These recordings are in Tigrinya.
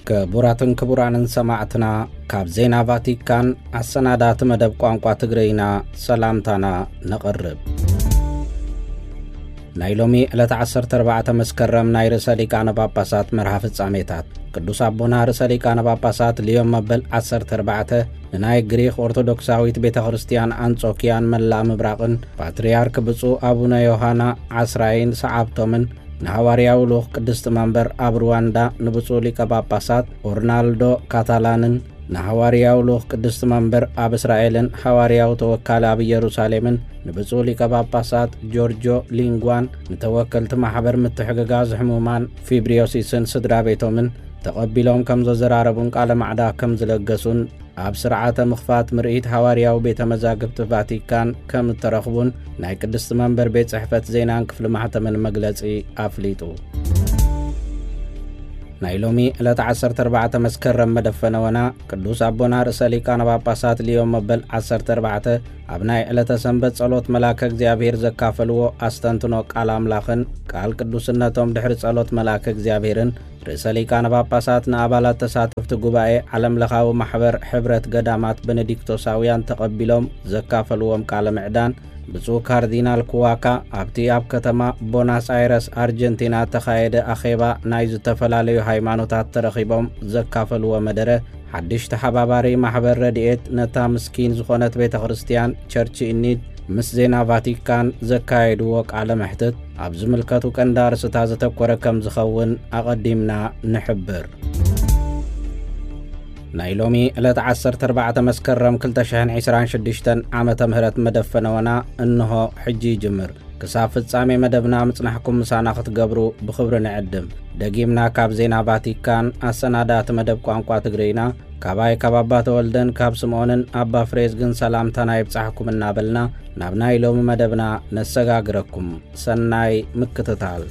ክቡራትን ክቡራንን ሰማዕትና፣ ካብ ዜና ቫቲካን ኣሰናዳእቲ መደብ ቋንቋ ትግርይና ሰላምታና ነቕርብ። ናይ ሎሚ ዕለት ዓሰርተ ኣርባዕተ መስከረም ናይ ርእሰ ሊቃነ ጳጳሳት መርሃ ፍጻሜታት። ቅዱስ ኣቦና ርእሰ ሊቃነ ጳጳሳት ሊዮን መበል ዓሰርተ ኣርባዕተ ንናይ ግሪኽ ኦርቶዶክሳዊት ቤተ ክርስቲያን ኣንጾኪያን መላእ ምብራቕን ፓትርያርክ ብፁዕ ኣቡነ ዮሃና ዓስራይን ሰዓብቶምን ንሃዋርያዊ ልኡኽ ቅድስቲ መንበር ኣብ ሩዋንዳ ንብፁዕ ሊቀ ጳጳሳት ኦርናልዶ ካታላንን ንሃዋርያዊ ልኡኽ ቅድስቲ መንበር ኣብ እስራኤልን ሃዋርያዊ ተወካሊ ኣብ ኢየሩሳሌምን ንብፁዕ ሊቀ ጳጳሳት ጆርጆ ሊንጓን ንተወከልቲ ማሕበር ምትሕግጋዝ ሕሙማን ፊብሪዮሲስን ስድራ ቤቶምን ተቐቢሎም ከም ዘዘራረቡን ቃለ ማዕዳ ከም ዝለገሱን ኣብ ስርዓተ ምኽፋት ምርኢት ሃዋርያዊ ቤተ መዛግብቲ ቫቲካን ከም እተረኽቡን ናይ ቅድስቲ መንበር ቤት ጽሕፈት ዜናን ክፍሊ ማሕተምን መግለጺ ኣፍሊጡ። ናይ ሎሚ ዕለት ዓሰርተ ኣርባዕተ መስከረም መደፈነወና ቅዱስ ኣቦና ርእሰ ሊቃነ ጳጳሳት ሊዮን መበል ዓሰርተ ኣርባዕተ ኣብ ናይ ዕለተ ሰንበት ጸሎት መልኣከ እግዚኣብሔር ዘካፈልዎ ኣስተንትኖ ቃል ኣምላኽን ቃል ቅዱስነቶም ድሕሪ ጸሎት መልኣከ እግዚኣብሔርን ርእሰ ሊቃነ ጳጳሳት ንኣባላት ተሳተፍቲ ጉባኤ ዓለምለኻዊ ማሕበር ሕብረት ገዳማት ቤኔዲክቶሳውያን ተቐቢሎም ዘካፈልዎም ቃለ ምዕዳን ብፁዕ ካርዲናል ኩዋካ ኣብቲ ኣብ ከተማ ቦናስ ኣይረስ ኣርጀንቲና እተኻየደ ኣኼባ ናይ ዝተፈላለዩ ሃይማኖታት ተረኺቦም ዘካፈልዎ መደረ ሓድሽ ተሓባባሪ ማሕበር ረድኤት ነታ ምስኪን ዝኾነት ቤተ ክርስቲያን ቸርች ኢኒድ ምስ ዜና ቫቲካን ዘካየድዎ ቃለ መሕትት ኣብ ዝምልከቱ ቀንዲ ኣርእስታት ዘተኮረ ከም ዝኸውን ኣቐዲምና ንሕብር። ናይ ሎሚ ዕለት ዓሰርተ ኣርባዕተ መስከረም ክልተ ሽሕን ዕስራን ሽዱሽተን ዓመተ ምህረት መደፈነወና እንሆ ሕጂ ይጅምር። ክሳብ ፍጻሜ መደብና ምጽናሕኩም ምሳና ክትገብሩ ብኽብሪ ንዕድም። ደጊምና ካብ ዜና ቫቲካን ኣሰናዳእቲ መደብ ቋንቋ ትግርይና፣ ካባይ ካብ ኣባ ተወልደን ካብ ስምዖንን ኣባ ፍሬዝግን ሰላምታና ይብጻሕኩም እናበልና ናብ ናይ ሎሚ መደብና ነሰጋግረኩም። ሰናይ ምክትታል።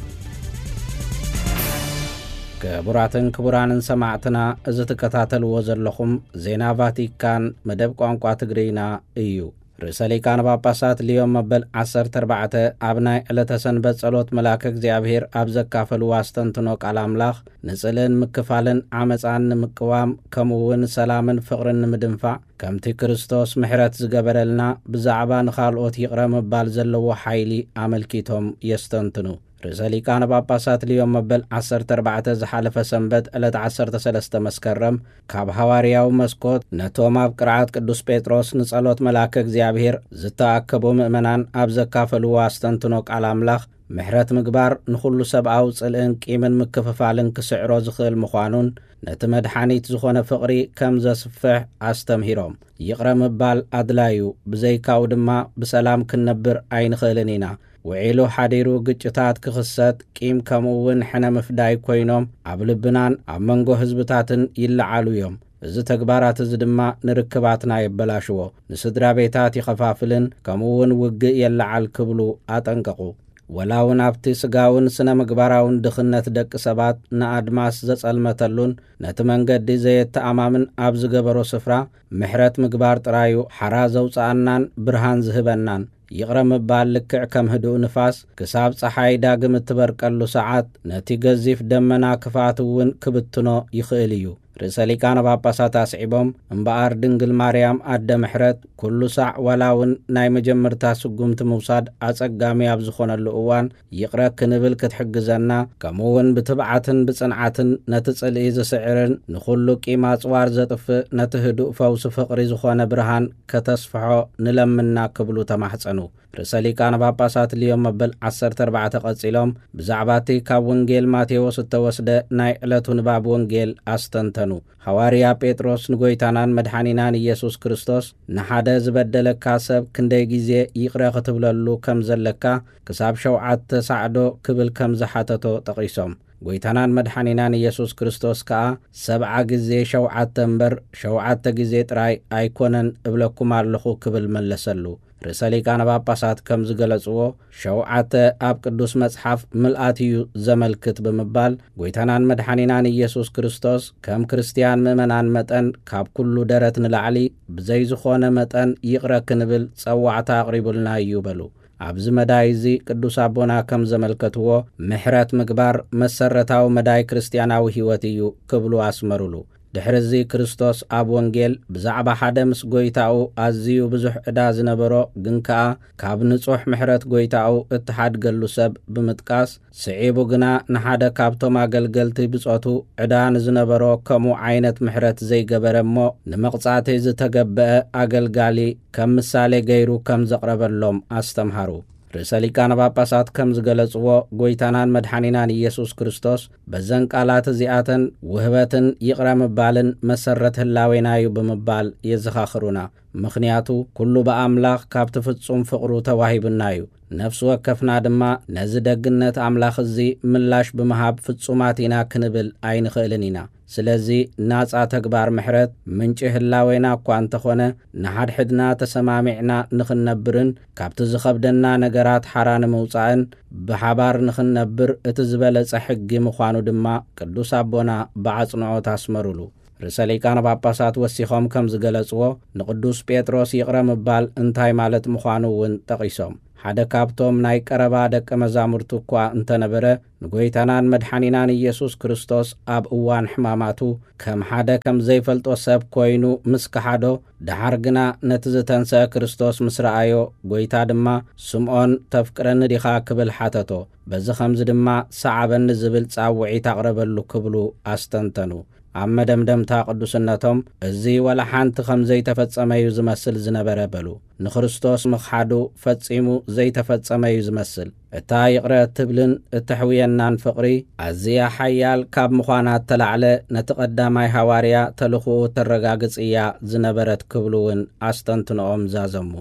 ክቡራትን ክቡራንን ሰማዕትና፣ እዚ ትከታተልዎ ዘለኹም ዜና ቫቲካን መደብ ቋንቋ ትግርይና እዩ። ርእሰ ሊቃነ ጳጳሳት ሊዮን መበል ዓሰርተ ኣርባዕተ ኣብ ናይ ዕለተ ሰንበት ጸሎት መልኣከ እግዚኣብሔር ኣብ ዘካፈልዎ ኣስተንትኖ ቃል ኣምላኽ፣ ንጽልእን ምክፋልን ዓመጻን ንምቅዋም፣ ከምኡ እውን ሰላምን ፍቕርን ንምድንፋዕ፣ ከምቲ ክርስቶስ ምሕረት ዝገበረልና፣ ብዛዕባ ንኻልኦት ይቕረ ምባል ዘለዎ ሓይሊ ኣመልኪቶም የስተንትኑ። ርእሰ ሊቃነ ጳጳሳት ሊዮን መበል ዓሰርተ ኣርባዕተ ዝሓለፈ ሰንበት ዕለት ዓሰርተ ሰለስተ መስከረም ካብ ሃዋርያዊ መስኮት ነቶም ኣብ ቅርዓት ቅዱስ ጴጥሮስ ንጸሎት መልኣከ እግዚኣብሔር ዝተኣከቡ ምእመናን ኣብ ዘካፈልዎ ኣስተንትኖ ቃል ኣምላኽ፣ ምሕረት ምግባር ንኹሉ ሰብኣዊ ጽልእን ቂምን ምክፍፋልን ክስዕሮ ዝኽእል ምዃኑን፣ ነቲ መድሓኒት ዝኾነ ፍቕሪ ከም ዘስፍሕ ኣስተምሂሮም። ይቕረ ምባል ኣድላዩ፣ ብዘይካኡ ድማ ብሰላም ክንነብር ኣይንኽእልን ኢና። ውዒሉ ሓዲሩ ግጭታት ክኽሰት፣ ቂም ከምኡ እውን ሕነ ምፍዳይ ኮይኖም ኣብ ልብናን ኣብ መንጎ ህዝብታትን ይለዓሉ እዮም። እዚ ተግባራት እዚ ድማ ንርክባትና የበላሽዎ፣ ንስድራ ቤታት ይኸፋፍልን ከምኡ እውን ውግእ የለዓል ክብሉ ኣጠንቀቑ። ወላ እውን ኣብቲ ስጋውን ስነ ምግባራውን ድኽነት ደቂ ሰባት ንኣድማስ ዘጸልመተሉን ነቲ መንገዲ ዘየተኣማምን ኣብ ዝገበሮ ስፍራ ምሕረት ምግባር ጥራዩ ሓራ ዘውጽኣናን ብርሃን ዝህበናን። ይቕረ ምባል ልክዕ ከም ህዱእ ንፋስ ክሳብ ጸሓይ ዳግም እትበርቀሉ ሰዓት ነቲ ገዚፍ ደመና ክፍኣት እውን ክብትኖ ይኽእል እዩ። ርእሰ ሊቃነ ጳጳሳት ኣስዒቦም፣ እምበኣር ድንግል ማርያም ኣደ ምሕረት ኩሉ ሳዕ ዋላ እውን ናይ መጀመርታ ስጉምቲ ምውሳድ ኣጸጋሚ ኣብ ዝኾነሉ እዋን ይቕረ ክንብል ክትሕግዘና፣ ከምኡ እውን ብትብዓትን ብጽንዓትን ነቲ ጽልኢ ዝስዕርን ንኹሉ ቂም ኣጽዋር ዘጥፍእ ነቲ ህዱእ ፈውሲ ፍቕሪ ዝኾነ ብርሃን ከተስፍሖ ንለምና ክብሉ ተማሕጸኑ። ርእሰ ሊቃነ ጳጳሳት ሊዮን መበል ዓሰርተ ኣርባዕተ ቀጺሎም ብዛዕባ እቲ ካብ ወንጌል ማቴዎስ እተወስደ ናይ ዕለቱ ንባብ ወንጌል ኣስተንተኑ። ሃዋርያ ጴጥሮስ ንጎይታናን መድሓኒናን ኢየሱስ ክርስቶስ፣ "ንሓደ ዝበደለካ ሰብ ክንደይ ግዜ ይቕረ ክትብለሉ ከም ዘለካ ክሳብ ሸውዓተ ሳዕዶ?" ክብል ከም ዝሓተቶ ጠቒሶም። ጎይታናን መድሓኒናን ኢየሱስ ክርስቶስ ከኣ፣ "ሰብዓ ግዜ ሸውዓተ እምበር ሸውዓተ ግዜ ጥራይ ኣይኮነን እብለኩም ኣለኹ" ክብል መለሰሉ። ርእሰ ሊቃነ ጳጳሳት ከም ዝገለጽዎ፣ ሸውዓተ ኣብ ቅዱስ መጽሓፍ ምልኣት እዩ ዘመልክት ብምባል፣ ጎይታናን መድሓኒናን ኢየሱስ ክርስቶስ ከም ክርስትያን ምእመናን መጠን ካብ ኩሉ ደረት ንላዕሊ ብዘይ ዝኾነ መጠን ይቕረ ክንብል ጸዋዕታ ኣቕሪቡልና እዩ በሉ። ኣብዚ መዳይ እዚ ቅዱስ ኣቦና ከም ዘመልከትዎ፣ ምሕረት ምግባር መሰረታዊ መዳይ ክርስትያናዊ ህይወት እዩ ክብሉ ኣስመሩሉ። ድሕሪ እዚ ክርስቶስ ኣብ ወንጌል ብዛዕባ ሓደ ምስ ጐይታኡ ኣዝዩ ብዙሕ ዕዳ ዝነበሮ ግን ከኣ ካብ ንጹሕ ምሕረት ጐይታኡ እተሓድገሉ ሰብ ብምጥቃስ፣ ስዒቡ ግና ንሓደ ካብቶም ኣገልገልቲ ብጾቱ ዕዳ ንዝነበሮ ከምኡ ዓይነት ምሕረት ዘይገበረ እሞ ንመቕጻእቲ ዝተገብአ ኣገልጋሊ ከም ምሳሌ ገይሩ ከም ዘቕረበሎም ኣስተምሃሩ። ርእሰ ሊቃነ ጳጳሳት ከም ዝገለጽዎ፣ ጐይታናን መድሓኒናን ኢየሱስ ክርስቶስ በዘን ቃላት እዚኣተን ውህበትን ይቕረ ምባልን መሰረት ህላዌና እዩ ብምባል የዘኻኽሩና። ምኽንያቱ፣ ኩሉ ብኣምላኽ ካብቲ ፍጹም ፍቕሩ ተዋሂቡና እዩ። ነፍሲ ወከፍና ድማ ነዚ ደግነት ኣምላኽ እዚ ምላሽ ብምሃብ ፍጹማት ኢና ክንብል ኣይንኽእልን ኢና። ስለዚ ናጻ ተግባር ምሕረት ምንጪ ህላዌና እኳ እንተኾነ፣ ንሓድሕድና ተሰማሚዕና ንኽንነብርን ካብቲ ዝኸብደና ነገራት ሓራ ንምውጻእን ብሓባር ንኽንነብር እቲ ዝበለጸ ሕጊ ምዃኑ ድማ ቅዱስ ኣቦና ብኣጽንዖት ኣስመሩሉ። ርእሰ ሊቃነ ጳጳሳት ወሲኾም ከም ዝገለጽዎ፣ ንቅዱስ ጴጥሮስ ይቕረ ምባል እንታይ ማለት ምዃኑ እውን ጠቒሶም፣ ሓደ ካብቶም ናይ ቀረባ ደቀ መዛሙርቱ እኳ እንተነበረ፣ ንጐይታናን መድሓኒናን ኢየሱስ ክርስቶስ ኣብ እዋን ሕማማቱ ከም ሓደ ከም ዘይፈልጦ ሰብ ኮይኑ ምስ ከሓዶ፣ ደሓር ግና ነቲ ዝተንስአ ክርስቶስ ምስ ረኣዮ፣ ጐይታ ድማ፣ "ስምዖን፣ ተፍቅረኒ ዲኻ?" ክብል ሓተቶ። በዚ ኸምዚ ድማ፣ "ሰዓበኒ" ዝብል ጻውዒት ኣቕረበሉ ክብሉ ኣስተንተኑ። ኣብ መደምደምታ ቅዱስነቶም፣ እዚ ዋላ ሓንቲ ከም ዘይተፈጸመ እዩ ዝመስል ዝነበረ በሉ። ንክርስቶስ ምኽሓዱ ፈጺሙ ዘይተፈጸመ እዩ ዝመስል። እታ ይቕረ እትብልን እተሕውየናን ፍቕሪ፣ ኣዝያ ሓያል ካብ ምዃና እተላዕለ፣ ነቲ ቀዳማይ ሃዋርያ ተልእኾኡ እተረጋግጽ እያ ዝነበረት ክብሉ እውን ኣስተንትኖኦም ዛዘሙ።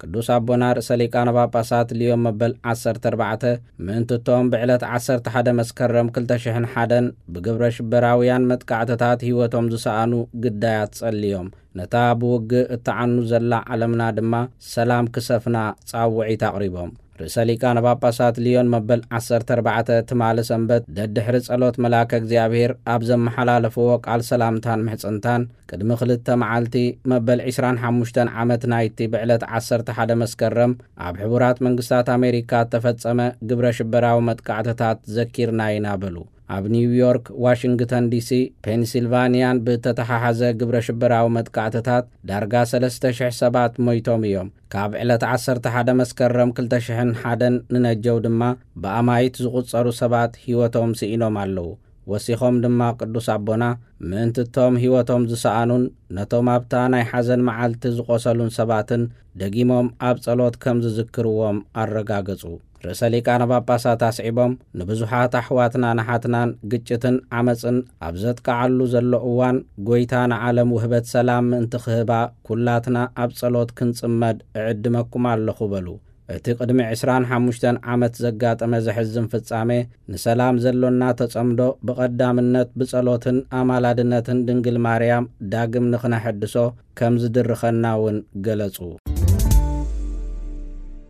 ቅዱስ ኣቦና ርእሰ ሊቃነ ጳጳሳት ልዮን መበል ዓሰርተ ኣርባዕተ፣ ምእንቲ እቶም ብዕለት ዓሰርተ ሓደ መስከረም ክልተ ሽሕን ሓደን ብግብረ ሽበራውያን መጥቃዕትታት ህይወቶም ዝሰኣኑ ግዳያት ጸልዮም፣ ነታ ብውግእ እትዓኑ ዘላ ዓለምና ድማ ሰላም ክሰፍና ጻውዒት ኣቕሪቦም። ርእሰ ሊቃነ ጳጳሳት ልዮን መበል ዓሰርተ ኣርባዕተ ትማሊ ሰንበት ደድሕሪ ጸሎት መልኣከ እግዚኣብሔር ኣብ ዘመሓላለፍዎ ቃል ሰላምታን ምሕጽንታን፣ ቅድሚ ክልተ መዓልቲ መበል ዕስራን ሓሙሽተን ዓመት ናይቲ ብዕለት ዓሰርተ ሓደ መስከረም ኣብ ሕቡራት መንግስታት ኣሜሪካ እተፈጸመ ግብረ ሽበራዊ መጥቃዕትታት ዘኪርና ኢና በሉ። ኣብ ኒውዮርክ፣ ዋሽንግተን ዲሲ፣ ፔንሲልቫንያን ብእተተሓሓዘ ግብረ ሽበራዊ መጥቃዕትታት ዳርጋ ሰለስተ ሽሕ ሰባት ሞይቶም እዮም። ካብ ዕለት ዓሰርተ ሓደ መስከረም ክልተ ሽሕን ሓደን ንነጀው ድማ ብኣማይት ዝቑጸሩ ሰባት ህይወቶም ስኢኖም ኣለዉ። ወሲኾም ድማ ቅዱስ ኣቦና፣ ምእንቲ እቶም ህይወቶም ዝሰኣኑን ነቶም ኣብታ ናይ ሓዘን መዓልቲ ዝቖሰሉን ሰባትን ደጊሞም ኣብ ጸሎት ከም ዝዝክርዎም ኣረጋገጹ። ርእሰ ሊቃነ ጳጳሳት ኣስዒቦም፣ ንብዙሓት ኣሕዋትናን ኣሓትናን ግጭትን ዓመጽን ኣብ ዘጥቅዓሉ ዘሎ እዋን፣ ጐይታ ንዓለም ውህበት ሰላም ምእንቲ ክህባ፣ ኩላትና ኣብ ጸሎት ክንጽመድ እዕድመኩም ኣለኹ በሉ። እቲ ቅድሚ ዕስራን ሓሙሽተን ዓመት ዘጋጠመ ዘሕዝን ፍጻሜ፣ ንሰላም ዘሎና ተጸምዶ ብቐዳምነት ብጸሎትን ኣማላድነትን ድንግል ማርያም ዳግም ንኽነሐድሶ ከም ዝድርኸና እውን ገለጹ።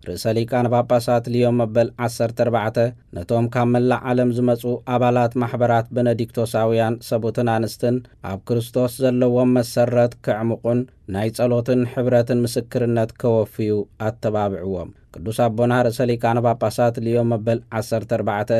ርእሰ ሊቃነ ጳጳሳት ልዮን መበል ዓሰርተ ኣርባዕተ ነቶም ካብ መላእ ዓለም ዝመጹ ኣባላት ማሕበራት በነዲክቶሳውያን ሰቡትን ኣንስትን፣ ኣብ ክርስቶስ ዘለዎም መሰረት ከዕምቑን ናይ ጸሎትን ሕብረትን ምስክርነት ከወፍዩ ኣተባብዕዎም። ቅዱስ ኣቦና ርእሰ ሊቃነ ጳጳሳት ልዮን መበል ዓሰርተ ኣርባዕተ፣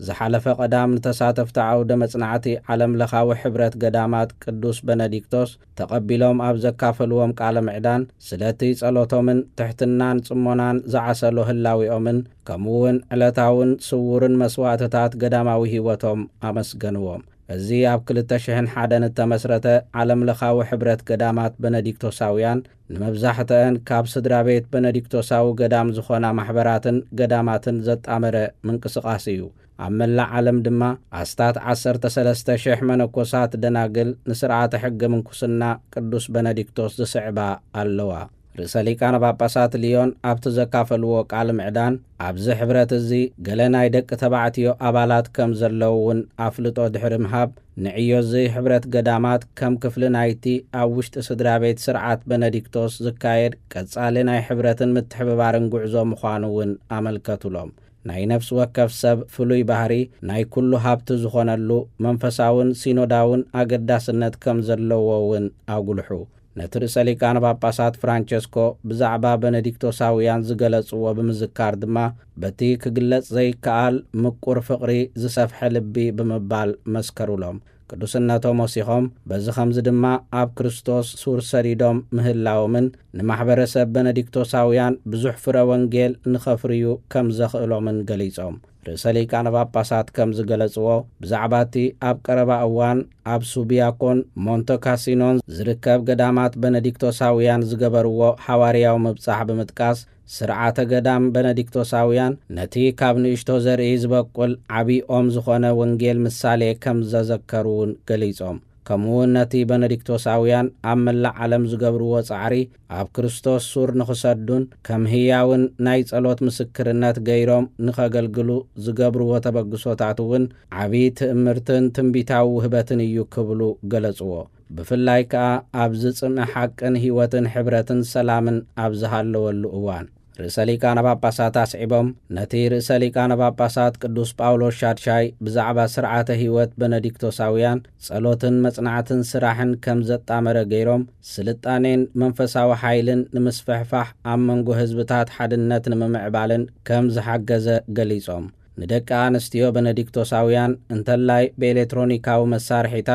ዝሓለፈ ቀዳም ንተሳተፍቲ ዓውደ መጽናዕቲ ዓለም ለኻዊ ሕብረት ገዳማት ቅዱስ በነዲክቶስ ተቐቢሎም ኣብ ዘካፈልዎም ቃለ ምዕዳን፣ ስለቲ ጸሎቶምን ትሕትናን ጽሞናን ዝዓሰሎ ህላዊኦምን፣ ከምኡ እውን ዕለታውን ስዉርን መስዋእትታት ገዳማዊ ህይወቶም ኣመስገንዎም። እዚ ኣብ ክልተ ሽሕን ሓደን እተመስረተ ዓለም ለኻዊ ሕብረት ገዳማት በነዲክቶሳውያን፣ ንመብዛሕትአን ካብ ስድራ ቤት በነዲክቶሳዊ ገዳም ዝኾና ማሕበራትን ገዳማትን ዘጣመረ ምንቅስቓስ እዩ። ኣብ መላእ ዓለም ድማ ኣስታት ዓሰርተ ሰለስተ ሽሕ መነኮሳት ደናግል ንስርዓተ ሕገ ምንኩስና ቅዱስ በነዲክቶስ ዝስዕባ ኣለዋ። ርእሰ ሊቃነ ጳጳሳት ልዮን ኣብቲ ዘካፈልዎ ቃል ምዕዳን፣ ኣብዚ ሕብረት እዚ ገለ ናይ ደቂ ተባዕትዮ ኣባላት ከም ዘለዉ እውን ኣፍልጦ ድሕሪ ምሃብ፣ ንዕዮ እዚ ሕብረት ገዳማት ከም ክፍሊ ናይቲ ኣብ ውሽጢ ስድራ ቤት ስርዓት በነዲክቶስ ዝካየድ ቀጻሊ ናይ ሕብረትን ምትሕብባርን ጉዕዞ ምዃኑ እውን ኣመልከቱሎም። ናይ ነፍሲ ወከፍ ሰብ ፍሉይ ባህሪ ናይ ኩሉ ሃብቲ ዝኾነሉ መንፈሳውን ሲኖዳውን ኣገዳስነት ከም ዘለዎ እውን ኣጉልሑ። ነቲ ርእሰ ሊቃነ ጳጳሳት ፍራንቸስኮ ብዛዕባ በነዲክቶሳውያን ዝገለጽዎ ብምዝካር ድማ፣ በቲ ክግለጽ ዘይከኣል ምቁር ፍቕሪ ዝሰፍሐ ልቢ ብምባል መስከሩሎም። ቅዱስነቶም ወሲኾም፣ በዚ ኸምዚ ድማ ኣብ ክርስቶስ ሱር ሰዲዶም ምህላዎምን ንማሕበረሰብ በነዲክቶሳውያን ብዙሕ ፍረ ወንጌል ንኸፍርዩ ከም ዘኽእሎምን ገሊጾም። ርእሰ ሊቃነ ጳጳሳት ከም ዝገለጽዎ፣ ብዛዕባ እቲ ኣብ ቀረባ እዋን ኣብ ሱቢያኮን ሞንተ ካሲኖን ዝርከብ ገዳማት በነዲክቶሳውያን ዝገበርዎ ሓዋርያዊ ምብጻሕ ብምጥቃስ፣ ስርዓተ ገዳም በነዲክቶሳውያን ነቲ ካብ ንእሽቶ ዘርኢ ዝበቁል ዓቢ ኦም ዝኾነ ወንጌል ምሳሌ ከም ዘዘከሩ እውን ገሊጾም። ከምኡ እውን ነቲ በነዲክቶሳውያን ኣብ መላእ ዓለም ዝገብርዎ ጻዕሪ ኣብ ክርስቶስ ሱር ንኽሰዱን ከም ህያውን ናይ ጸሎት ምስክርነት ገይሮም ንኸገልግሉ ዝገብርዎ ተበግሶታት እውን ዓቢ ትእምርትን ትንቢታዊ ውህበትን እዩ ክብሉ ገለጽዎ። ብፍላይ ከኣ ኣብ ዝጽምእ ሓቅን ህይወትን ሕብረትን ሰላምን ኣብ ዝሃለወሉ እዋን። ርእሰ ሊቃነ ጳጳሳት ኣስዒቦም፣ ነቲ ርእሰ ሊቃነ ጳጳሳት ቅዱስ ጳውሎስ ሻድሻይ ብዛዕባ ስርዓተ ህይወት በነዲክቶሳውያን ጸሎትን መጽናዕትን ስራሕን ከም ዘጣመረ ገይሮም፣ ስልጣኔን መንፈሳዊ ሓይልን ንምስፍሕፋሕ፣ ኣብ መንጎ ህዝብታት ሓድነት ንምምዕባልን ከም ዝሓገዘ ገሊጾም። ንደቂ ኣንስትዮ በነዲክቶሳውያን እንተላይ ብኤሌክትሮኒካዊ መሳርሒታት